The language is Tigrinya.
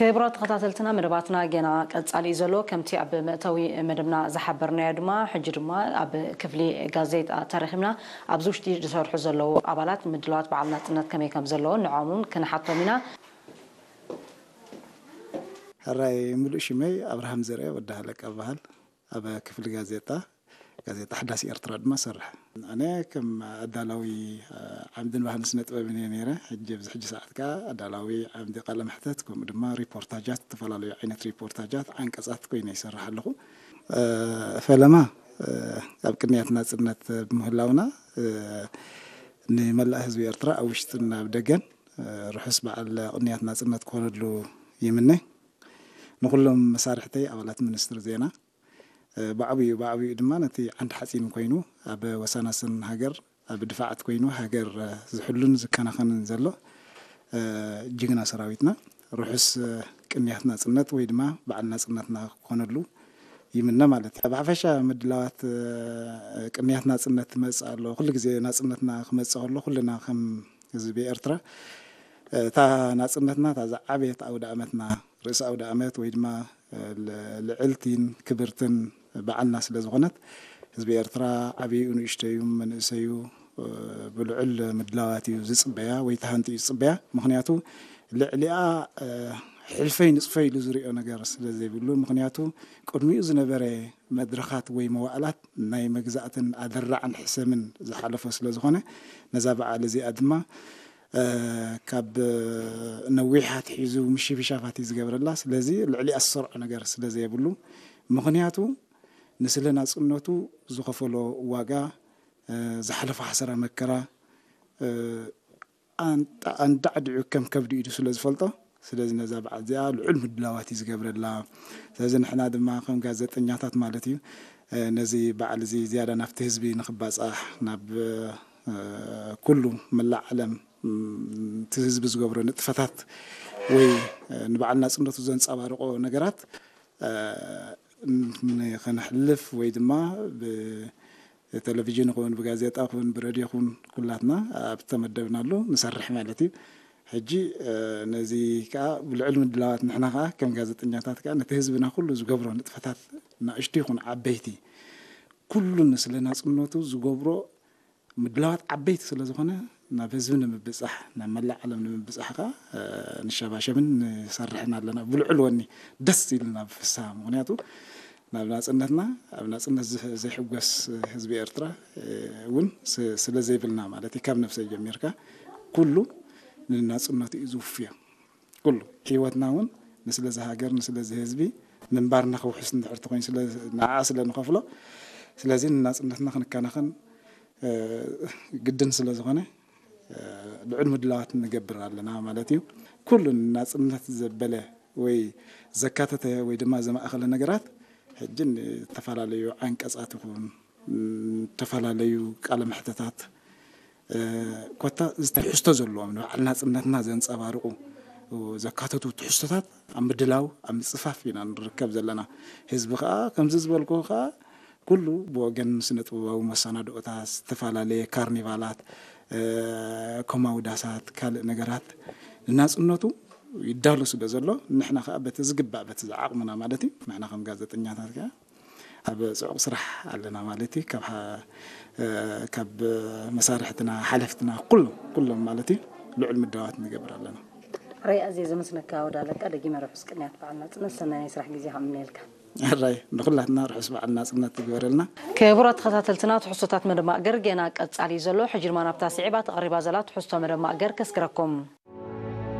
ክቡራት ተኸታተልትና፣ መደባትና ገና ቀጻሊ እዩ ዘሎ። ከምቲ ኣብ መእተዊ መደብና ዝሓበርናዮ ድማ፣ ሕጂ ድማ ኣብ ክፍሊ ጋዜጣ ተረኺብና። ኣብዚ ውሽጢ ዝሰርሑ ዘለዉ ኣባላት ምድላዋት በዓል ናጽነት ከመይ ከም ዘለዉ ንዖምን ክንሓቶም ኢና። ሕራይ፣ ምሉእ ሽመይ ኣብርሃም ዘርአ ወዲ ሃለቃ እበሃል። ኣብ ክፍሊ ጋዜጣ፣ ጋዜጣ ሓዳስ ኤርትራ ድማ እሰርሕ። ኣነ ከም ኣዳላዊ፣ እ፣ ዓምድን ባህልን ስነ ጥበብን እየ ነይረ። ሕጂ ኣብዚ ሕጂ ሰዓት ከኣ ኣዳላዊ ዓምዲ ቃለ መሕተት፣ ከምኡ ድማ ሪፖርታጃት፣ ዝተፈላለዩ ዓይነት ሪፖርታጃት፣ ዓንቀጻት ኮይነ ይሰርሕ ኣለኹ። እ፣ ፈለማ፣ እ፣ ኣብ ቅንያት ናጽነት ብምህላውና፣ እ፣ ንመላእ ህዝቢ ኤርትራ ኣብ ውሽጥን ኣብ ደገን፣ እ፣ ርሑስ በዓል ቅንያት ናጽነት ክኾነሉ ይምነ። ንኹሎም መሳርሕተይ ኣባላት ሚኒስትሪ ዜና፣ እ፣ ብዓብዩ፣ ብዓብዩ ድማ ነቲ ዓንዲ ሓጺን ኮይኑ ኣብ ወሳናስን ሃገር፣ ኣብ ድፋዓት ኮይኑ ሃገር፣ እ፣ ዝሕሉን ዝከናኸንን ዘሎ፣ እ፣ ጅግና ሰራዊትና ርሑስ፣ እ፣ ቅንያት ናጽነት ወይ ድማ በዓል ናጽነትና ክኾነሉ ይምነ ማለት እዩ። ብሓፈሻ ምድላዋት፣ እ፣ ቅንያት ናጽነት ትመጽእ ኣሎ። ኩሉ ግዜ ናጽነትና ክመጽእ ከሎ ኩልና ከም ህዝቢ ኤርትራ፣ እ፣ እታ ናጽነትና እታ ዝዓበየት ኣውደ ኣመትና፣ ርእሰ ኣውደ ኣመት ወይ ድማ፣ እ፣ ል-፣ ልዕልቲን ክብርትን በዓልና ስለ ዝኾነት፣ ህዝቢ ኤርትራ ዓብዩ ንእሽተዩ መንእሰዩ፣ እ፣ ብልዑል ምድላዋት እዩ ዝጽበያ ወይ ተሃንጥዩ ዝጽበያ። ምኽንያቱ ልዕሊኣ፣ እ፣ ሕልፈይ ንጽፈይ ኢሉ ዝሪኦ ነገር ስለ ዘይብሉ፣ ምኽንያቱ ቅድሚኡ ዝነበረ መድረኻት ወይ መዋእላት ናይ መግዛእትን ኣደራዕን ሕሰምን ዝሓለፎ ስለ ዝኾነ፣ ነዛ በዓል እዚኣ ድማ፣ እ፣ ካብ ነዊሕ ኣትሒዙ ምሽብሻባት እዩ ዝገብረላ። ስለዚ ልዕሊኣ ዝሰርዖ ነገር ስለ ዘየብሉ፣ ምኽንያቱ ንስለ ናጽነቱ ዝኸፈሎ ዋጋ፣ እ፣ ዝሓለፎ ሓሰራ መከራ፣ እ፣ ኣንጣ-፣ ኣንዳዕዲዑ ከም ከብዲ ኢዱ ስለ ዝፈልጦ፣ ስለዚ ነዛ በዓል እዚኣ ልዑል ምድላዋት እዩ ዝገብረላ። ስለዚ ንሕና ድማ ከም ጋዜጠኛታት ማለት እዩ፣ እ፣ ነዚ በዓል እዚ ዝያዳ ናብቲ ህዝቢ ንኽባጻሕ፣ ናብ፣ እ፣ ኩሉ መላእ ዓለም፣ ም፣ እቲ ህዝቢ ዝገብሮ ንጥፈታት ወይ፣ እ፣ ንበዓል ናጽነቱ ዘንጸባርቆ ነገራት፣ እ፣ ን-፣ ንኽነሕልፍ ወይ ድማ ብ-፣ ቴሌቪዥን ይኹን፣ ብጋዜጣ ይኹን፣ ብሬድዮ ይኹን፣ ኩላትና ኣብ ተመደብናሉ ንሰርሕ ማለት እዩ። ሕጂ፣ እ፣ ነዚ ከኣ ብልዑል ምድላዋት ንሕና ከኣ ከም ጋዜጠኛታት ከኣ ነቲ ህዝብና ኩሉ ዝገብሮ ንጥፈታት፣ ናእሽቱ ይኹን ዓበይቲ፣ ኩሉ ንስለ ናጽነቱ ዝገብሮ ምድላዋት ዓበይቲ ስለ ዝኾነ፣ ናብ ህዝቢ ንምብጻሕ፣ ናብ መላእ ዓለም ንምብጻሕ ከኣ፣ እ፣ ንሸባሸብን ንሰርሕን ኣለና። ብልዑል ወኒ ደስ ኢልና ብፍስሃ። ምኽንያቱ ናብ ናጽነትና፣ ኣብ ናጽነት ዝህ-፣ ዘይሕጎስ ህዝቢ ኤርትራ፣ እ፣ እውን ስ-፣ ስለ ዘይብልና ማለት እዩ። ካብ ነብሰይ ጀሚርካ ኩሉ ንናጽነቱ እዩ ዝውፍዮ። ኩሉ ህይወትና እውን ንስለዚ ሃገር፣ ንስለዚ ህዝቢ፣ ምንባርና ክውሕስ እንድሕር ተኾይኑ ስለ፣ ንዓኣ ስለ ንኸፍሎ፣ ስለዚ ንናጽነትና ክንከናኸን፣ እ፣ ግድን ስለ ዝኾነ፣ እ፣ ልዑል ምድላዋት ንገብር ኣለና ማለት እዩ። ኩሉ ንናጽነት ዘበለ ወይ ዘካተተ ወይ ድማ ዘማእኸለ ነገራት፣ ሕጂ ንተፈላለዩ ዓንቀጻት ይኹን፣ ም፣ ዝተፈላለዩ ቃለ መሕተታት፣ እ፣ ኮታ ዝተሕዝቶ ዘለዎም ንበዓል ናጽነትና ዘንጸባርቑ ዘካተቱ ትሕዝቶታት ኣብ ምድላው፣ ኣብ ምጽፋፍ ኢና ንርከብ ዘለና። ህዝቢ ከኣ ከምዚ ዝበልኩ ከኣ ኩሉ ብወገን ስነ ጥበባዊ መሰናድኦታት፣ ዝተፈላለየ ካርኒቫላት፣ እ፣ ኮማውዳሳት፣ ካልእ ነገራት ንናጽነቱ ይዳሎ ስለ ዘሎ፣ ንሕና ከኣ በቲ ዝግባእ፣ በቲ ዝዓቕምና ማለት እዩ፣ ንሕና ከም ጋዜጠኛታት ከኣ ኣብ ጽዑቕ ስራሕ ኣለና ማለት እዩ። ካብ ሓ-፣ እ፣ ካብ መሳርሕትና፣ ሓለፍትና፣ ኩሎም፣ ኩሎም ማለት እዩ፣ ልዑል ምድላዋት ንገብር ኣለና። ራይ ኣዝየ ዘመስነካ ወዲ ኣለቃ፣ ደጊመ ርሑስ ቅንያት በዓል ናጽነት፣ ሰናይ ናይ ስራሕ ግዜ ከምነየልካ። ሕራይ ንኹላትና ርሑስ በዓል ናጽነት ይግበረልና። ክቡራት ተኸታተልትና፣ ትሕዝቶታት መደብ ማእገር ገና ቀጻሊ እዩ ዘሎ። ሕጂ ድማ ናብታ ስዒባ ተቐሪባ ዘላ ትሕዝቶ መደብ ማእገር ከስግረኩም።